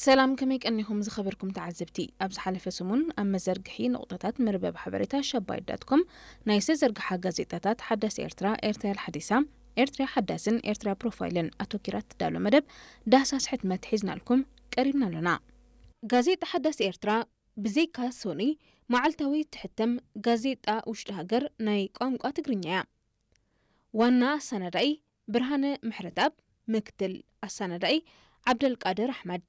ሰላም፣ ከመይ ቀኒኹም ዝኸበርኩም ተዓዘብቲ? ኣብ ዝሓለፈ ሰሙን ኣብ መዘርግሒ ነቑጣታት መርበብ ሓበሬታ ሸባይት ዳት ኮም ናይ ዝተዘርግሓ ጋዜጣታት ሓዳስ ኤርትራ፣ ኤርትራ ሓዲሳ፣ ኤርትራ ሓዳስን ኤርትራ ፕሮፋይልን ኣተኪራ ትዳሎ መደብ ዳህሳስ ሕትመት ሒዝናልኩም ቀሪብና ኣሎና። ጋዜጣ ሓዳስ ኤርትራ ብዘይካ ሶኒ መዓልታዊ ትሕተም ጋዜጣ ውሽጢ ሃገር ናይ ቋንቋ ትግርኛ እያ። ዋና ኣሰናዳኢ ብርሃነ ምሕረትኣብ፣ ምክትል ኣሰናዳኢ ዓብደልቃድር ኣሕመድ፣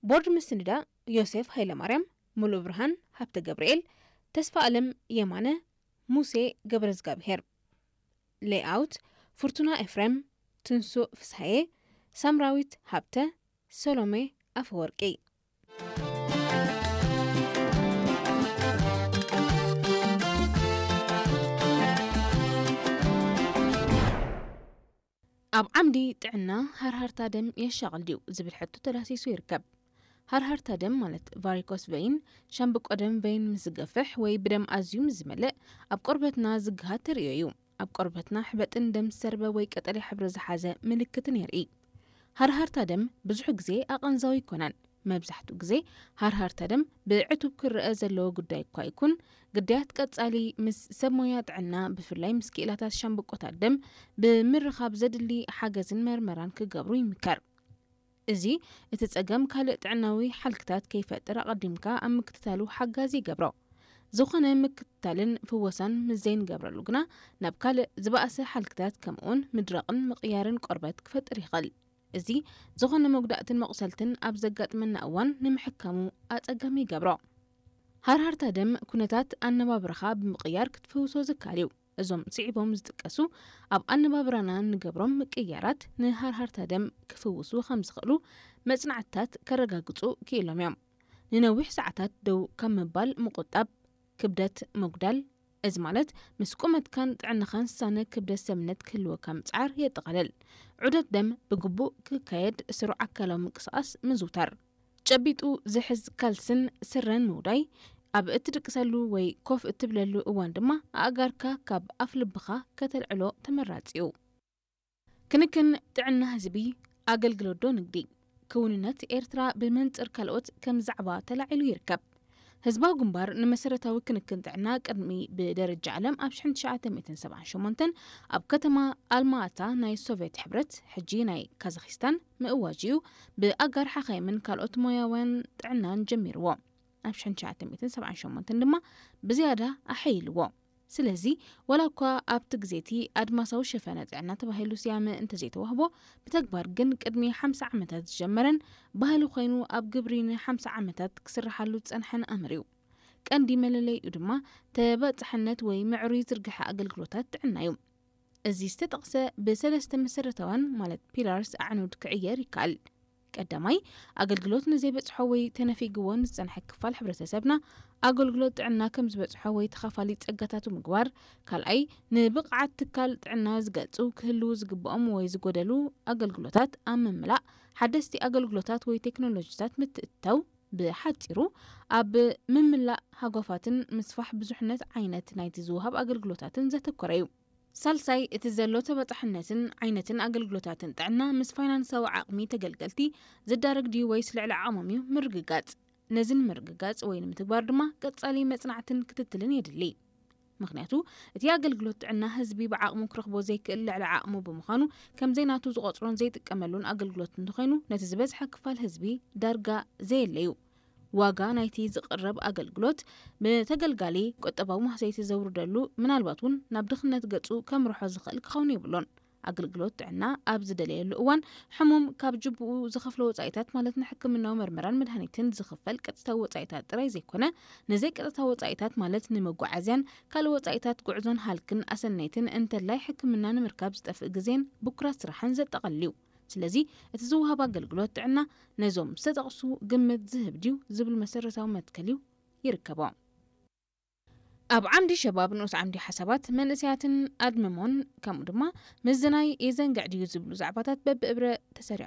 ቦርድ ምስንዳ ዮሴፍ ሃይለማርያም፣ ሙሉእ ብርሃን ሃብተ ገብርኤል፣ ተስፋ ኣለም የማነ፣ ሙሴ ገብረዝጋብሄር፣ ሌይኣውት ፍርቱና ኤፍሬም፣ ትንሱእ ፍስሃየ፣ ሳምራዊት ሃብተ፣ ሰሎሜ ኣፈወርቂ። ኣብ ዓምዲ ጥዕና ሃርሃርታ ደም የሻቕል ድዩ ዝብል ሕቶ ተዳሲሱ ይርከብ። ሃርሃርታ ደም ማለት ቫሪኮስ ቨይን፣ ሻምብቆ ደም ቨይን ምስ ዝገፍሕ ወይ ብደም ኣዝዩ ምስ ዝመልእ ኣብ ቆርበትና ዝግሃድ ተርእዮ እዩ። ኣብ ቆርበትና ሕበጥን ደም ዝሰርበ ወይ ቀጠልያ ሕብሪ ዝሓዘ ምልክትን የርኢ። ሃርሃርታ ደም ብዙሕ ግዜ ኣቐንዛዊ ኣይኮነን። መብዛሕትኡ ግዜ ሃርሃርታ ደም ብዕቱብ ክረአ ዘለዎ ጉዳይ እኳ ይኹን፣ ግዳያት ቀጻሊ ምስ ሰብ ሞያ ጥዕና፣ ብፍላይ ምስ ክኢላታት ሻምብቆታት ደም ብምርኻብ ዘድሊ ሓገዝን መርመራን ክገብሩ ይምከር። እዚ እቲ ጸገም ካልእ ጥዕናዊ ሓልክታት ከይፈጥር ኣቐዲምካ ኣብ ምክትታሉ ሓጋዚ ይገብሮ። ዝኾነ ምክትታልን ፍወሳን ምስ ዘይንገብረሉ ግና ናብ ካልእ ዝበኣሰ ሓልክታት ከምኡውን ምድራቕን ምቕያርን ቆርበት ክፈጥር ይኽእል። እዚ ዝኾነ መጉዳእትን መቑሰልትን ኣብ ዘጋጥመና እዋን ንምሕካሙ ኣጸጋሚ ይገብሮ። ሃርሃርታ ደም ኩነታት ኣነባብራኻ ብምቕያር ክትፍውሶ ዝከኣል እዩ። እዞም ስዒቦም ዝጥቀሱ ኣብ ኣነባብራና እንገብሮም ምቅይያራት ንሃርሃርታ ደም ክፍውሱ ከም ዝኽእሉ መጽናዕትታት ከረጋግጹ ክኢሎም እዮም። ንነዊሕ ሰዓታት ደው ካብ ምባል ምቁጣብ፣ ክብደት ምጉዳል፣ እዚ ማለት ምስ ቁመትካን ጥዕናኻን ዝሳነ ክብደት ሰብነት ክህልወካ ምጽዓር የጠቓልል። ዑደት ደም ብግቡእ ክካየድ፣ ስሩዕ ኣካላዊ ምንቅስቓስ ምዝውታር፣ ጨቢጡ ዝሕዝ ካልስን ስረን ምውዳይ፣ ኣብ እትድቅሰሉ ወይ ኮፍ እትብለሉ እዋን ድማ ኣእጋርካ ካብ ኣፍ ልብኻ ከተልዕሎ ተመራጺ እዩ። ክንክን ጥዕና ህዝቢ፣ ኣገልግሎት ዶ ንግዲ? ክውንነት ኤርትራ ብመንጽር ካልኦት ከም ዛዕባ ተላዒሉ ይርከብ። ህዝባዊ ግንባር ንመሰረታዊ ክንክን ጥዕና ቅድሚ ብደረጃ ዓለም ኣብ ሽሕን ትሽዓተ ሚእትን ሰብዓን ሸሞንተን ኣብ ከተማ ኣልማኣታ ናይ ሶቭየት ሕብረት፣ ሕጂ ናይ ካዛኺስታን፣ ምእዋጅ እዩ ብኣጋር ሓኻይምን ካልኦት ሞያውያን ጥዕናን ጀሚርዎ። ኣብ ሽሕን ትሽዓተ ሚእትን ሰብዓን ሸሞንተን ድማ ብዝያዳ ኣሐይልዎ። ስለዚ፣ ዋላ እኳ ኣብቲ ግዜ እቲ ኣድማሳዊ ሸፈነ ጥዕና ተባሂሉ ስያመ እንተዘይተዋህቦ፣ ብተግባር ግን ቅድሚ ሓምሳ ዓመታት ዝጀመረን ባህሊ ኮይኑ ኣብ ግብሪ ንሓምሳ ዓመታት ክስርሓሉ ዝጸንሐን ኣምር እዩ። ቀንዲ መለለይኡ ድማ ተበጻሕነት ወይ ምዕሩይ ዝርግሐ ኣገልግሎታት ጥዕና እዩ። እዚ ዝተጠቕሰ ብሰለስተ መሰረታውያን ማለት ፒላርስ ኣዕኑድ ክዕየር ይከኣል። ቀዳማይ፣ ኣገልግሎት ንዘይበጽሖ ወይ ተነፊግዎ ንዝጸንሐ ክፋል ሕብረተሰብና ኣገልግሎት ጥዕና ከም ዝበጽሖ ወይ ተኻፋሊ ጸጋታቱ ምግባር። ካልኣይ፣ ንብቕዓት ትካል ጥዕና ዝገልጹ ክህልዉ ዝግብኦም ወይ ዝጎደሉ ኣገልግሎታት ኣብ ምምላእ፣ ሓደስቲ ኣገልግሎታት ወይ ቴክኖሎጂታት ምትእትታው። ብሓጺሩ፣ ኣብ ምምላእ ሃጓፋትን ምስፋሕ ብዙሕነት ዓይነት ናይቲ ዝወሃብ ኣገልግሎታትን ዘተኮረ እዩ። ሳልሳይ፣ እቲ ዘሎ ተበጻሕነትን ዓይነትን ኣገልግሎታትን ጥዕና ምስ ፋይናንሳዊ ዓቕሚ ተገልገልቲ ዝዳረግ ድዩ ወይስ ልዕሊ ዓቕሞም እዩ ምርግጋጽ። ነዚ ንምርግጋጽ ወይ ንምትግባር ድማ ቀጻሊ መጽናዕትን ክትትልን የድሊ። ምኽንያቱ፣ እቲ ኣገልግሎት ጥዕና ህዝቢ ብዓቕሙ ክረኽቦ ዘይክእል ልዕሊ ዓቕሙ ብምዃኑ፣ ከም ዘይናቱ ዝቖጽሮን ዘይጥቀመሉን ኣገልግሎት እንተኾይኑ፣ ነቲ ዝበዝሐ ክፋል ህዝቢ ዳርጋ ዘየለ እዩ። ዋጋ ናይቲ ዝቕረብ ኣገልግሎት ብተገልጋሊ ቁጠባዊ ማህሰይቲ ዘውርደሉ፣ ምናልባት እውን ናብ ድኽነት ገጹ ከምርሖ ዝኽእል ክኸውን የብሉን። ኣገልግሎት ጥዕና ኣብ ዝደለየሉ እዋን፣ ሕሙም ካብ ጅቡኡ ዝኸፍሎ ወጻኢታት፣ ማለት ንሕክምናዊ መርመራን መድሃኒትን ዝኽፈል ቀጥታዊ ወጻኢታት ጥራይ ዘይኮነ፣ ንዘይቀጥታዊ ወጻኢታት፣ ማለት ንመጓዓዝያን ካልእ ወጻኢታት ጉዕዞን ሃልክን ኣሰነይትን፣ እንተላይ ሕክምና ንምርካብ ዝጠፍእ ግዜን ብኩራት ስራሕን ዘጠቓልል እዩ። ስለዚ፣ እቲ ዝወሃብ ኣገልግሎት ጥዕና ነዞም ዝተጠቕሱ ግምት ዝህብ ድዩ ዝብል መሰረታዊ መትከል እዩ ይርከቦ። ኣብ ዓምዲ ሸባብ ንኡስ ዓምዲ ሓሳባት መንእሰያትን ኣድመሞን፣ ከምኡ ድማ ምዝናይ የዘንግዕ ድዩ ዝብሉ ዛዕባታት በብእብረ ተሰሪዖም።